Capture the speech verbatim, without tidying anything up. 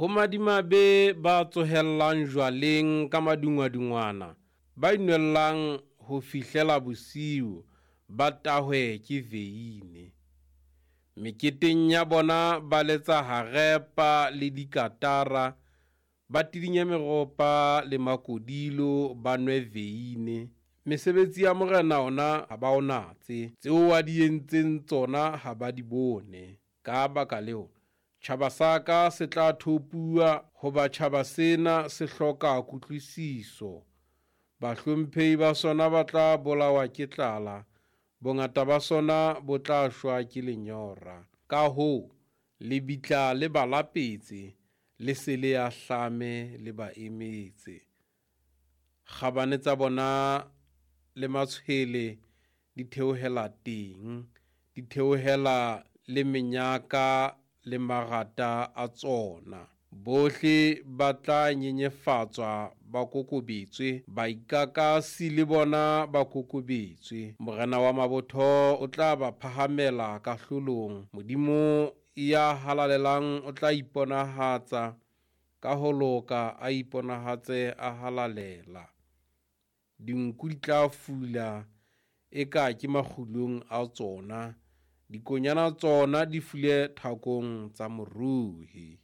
Ho madimabe ba tsohellang jwaleng ka madungwadungwana, ba inwellang ho fihlela bosiu, ba tahwe ke veine. Meketeng ya bona ba letsa harepa le dikatara, ba tidinya meropa le makodilo, ba nwe veine. Mesebetsi ya Morena ona ha ba o natse, tseo a di entseng tsona ha ba di bone. Ka baka leo, tjhaba sa ka se tla thopuwa, hoba tjhaba sena se hloka kutlwisiso. Bahlomphehi ba sona ba tla bolawa ke tlala, bongata ba sona bo tla shwa ke lenyora. Ka hoo, lebitla le ba lapetse, le se le ahlame le ba emetse. Kgabane tsa bona le matshwele di theohela teng, di theohela le menyaka le marata a tsona. Bohle ba tla nyenyefatswa ba kokobetswe, baikakasi le bona ba kokobetswe. Morena wa mabotho o tla ba phahamela kahlolong. Modimo ya halalelang o tla iponahatsa ka ho loka, a iponahatse a halalela. Dinku di tla fula eka ke makgulong a tsona, dikonyana tsona di fule thakong tsa moruhi.